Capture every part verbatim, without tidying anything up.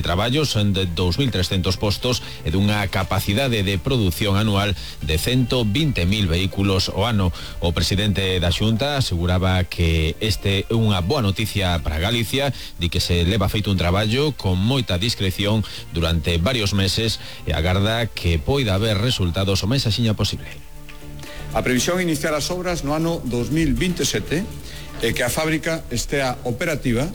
traballo son de dous mil trescentos postos e dunha capacidade de produción anual de ciento veinte mil vehículos ao ano. O presidente da Xunta aseguraba que este é unha boa noticia para Galicia, di que se leva feito un traballo con moita discreción durante varios meses e agarda que poida haber resultados o máis axiña posible. A previsión é iniciar as obras no ano dos mil veintesete e que a fábrica estea operativa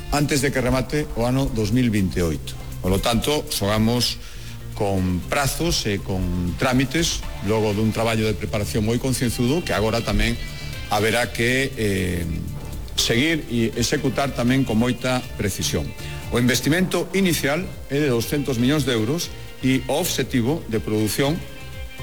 antes de que remate o ano dos mil veinteoito. Por lo tanto, xogamos con prazos e con trámites logo dun traballo de preparación moi concienzudo que agora tamén haberá que eh, seguir e executar tamén con moita precisión. O investimento inicial é de doscientos millóns de euros e o obxectivo de produción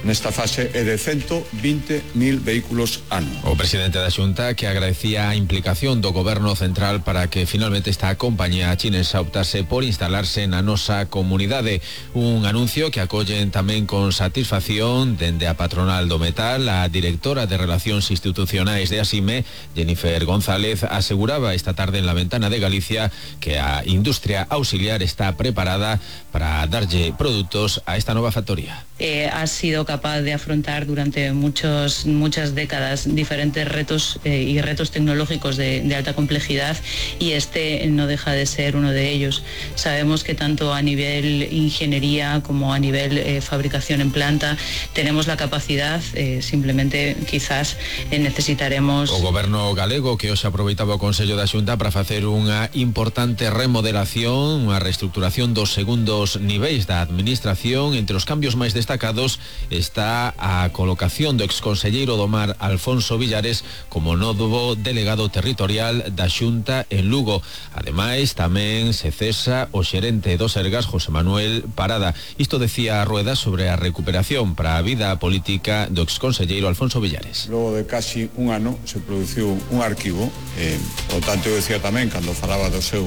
nesta fase é de ciento veinte mil vehículos ano. O presidente da Xunta que agradecía a implicación do goberno central para que finalmente esta compañía chinesa optase por instalarse na nosa comunidade. Un anuncio que acollen tamén con satisfacción dende a patronal do metal. A directora de Relacións Institucionais de Asime, Jennifer González, aseguraba esta tarde en La Ventana de Galicia que a industria auxiliar está preparada para darlle produtos a esta nova factoría. Eh, ha sido capaz de afrontar durante muchos, muchas décadas diferentes retos eh, y retos tecnológicos de, de alta complejidad, y este no deja de ser uno de ellos. Sabemos que tanto a nivel ingeniería como a nivel eh, fabricación en planta tenemos la capacidad, eh, simplemente quizás eh, necesitaremos... O goberno galego que hoxe aproveitaba o Consello da Xunta para facer unha importante remodelación, unha reestructuración dos segundos niveis da administración. Entre os cambios máis destacados está a colocación do exconselleiro do Mar Alfonso Villares como novo delegado territorial da Xunta en Lugo. Ademais, tamén se cesa o xerente do Sergas, José Manuel Parada. Isto decía a Rueda sobre a recuperación para a vida política do exconselleiro Alfonso Villares. Logo de casi un ano se produciu un arquivo, eh, por tanto eu decía tamén, cando falaba do seu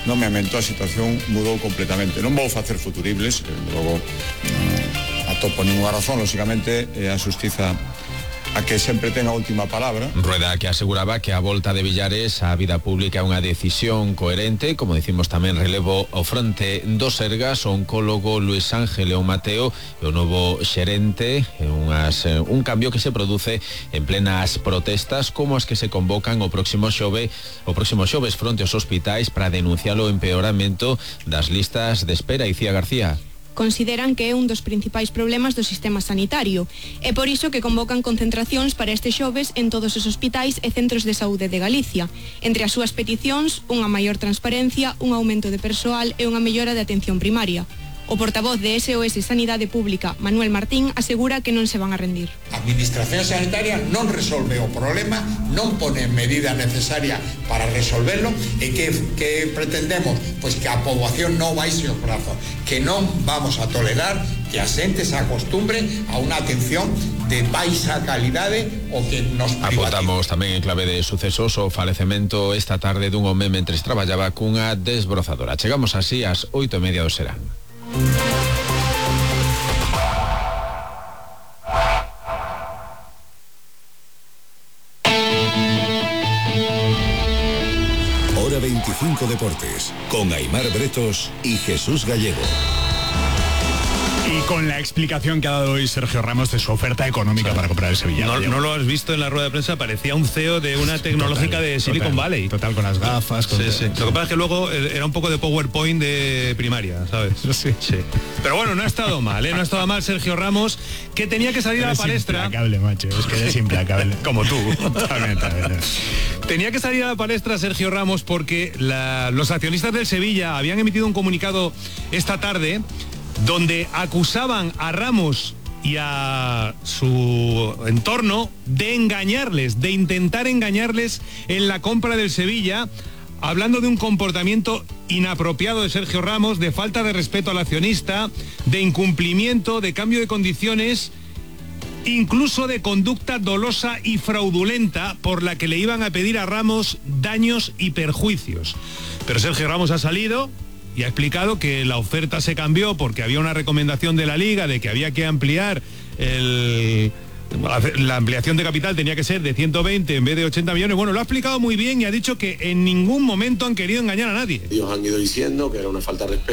nomeamento, a situación mudou completamente. Non vou facer futuribles, logo non atopo ninguna razón, lógicamente, eh, a xustiza a que sempre ten a última palabra. Rueda que aseguraba que a volta de Villares á vida pública é unha decisión coherente, como dicimos tamén relevo ao fronte do Sergas, o oncólogo Luis Ángel León Mateo e o novo xerente, unhas, un cambio que se produce en plenas protestas como as que se convocan o próximo xove, o próximo xoves fronte aos hospitais para denunciar o empeoramento das listas de espera. Icía García. Consideran que é un dos principais problemas do sistema sanitario. É por iso que convocan concentracións para este xoves en todos os hospitais e centros de saúde de Galicia. Entre as súas peticións, unha maior transparencia, un aumento de persoal e unha mellora de atención primaria. O portavoz de S O S Sanidade Pública, Manuel Martín, asegura que non se van a rendir. A Administración Sanitaria non resolve o problema, non pone medida necesaria para resolverlo, e que, que pretendemos? Pois que a poboación non baixe os brazos, que non vamos a tolerar que a xente se acostumbre a unha atención de baixa calidade o que nos privatiza. Apuntamos tamén en clave de sucesos o falecemento esta tarde dun home mentres traballaba cunha desbrozadora. Chegamos así ás oito e media do serán. Hora veinticinco Deportes, con Aimar Bretos y Jesús Gallego. Y con la explicación que ha dado hoy Sergio Ramos de su oferta económica, sí, para comprar el Sevilla. No, no lo has visto en la rueda de prensa, parecía un C E O de una tecnológica total, de Silicon total, Valley. Total, con las gafas. Con sí, sí. Lo que pasa es que luego era un poco de PowerPoint de primaria, ¿sabes? Sí. sí. Pero bueno, no ha estado mal, ¿eh? No ha estado mal Sergio Ramos, que tenía que salir eres a la palestra. Implacable, macho, es que eres implacable. Como tú. Totalmente. Tenía que salir a la palestra Sergio Ramos porque la, los accionistas del Sevilla habían emitido un comunicado esta tarde donde acusaban a Ramos y a su entorno de engañarles, de intentar engañarles en la compra del Sevilla, hablando de un comportamiento inapropiado de Sergio Ramos, de falta de respeto al accionista, de incumplimiento, de cambio de condiciones, incluso de conducta dolosa y fraudulenta por la que le iban a pedir a Ramos daños y perjuicios. Pero Sergio Ramos ha salido y ha explicado que la oferta se cambió porque había una recomendación de la Liga de que había que ampliar el... la ampliación de capital tenía que ser de ciento veinte en vez de ochenta millones. Bueno, lo ha explicado muy bien y ha dicho que en ningún momento han querido engañar a nadie. Ellos han ido diciendo que era una falta de respeto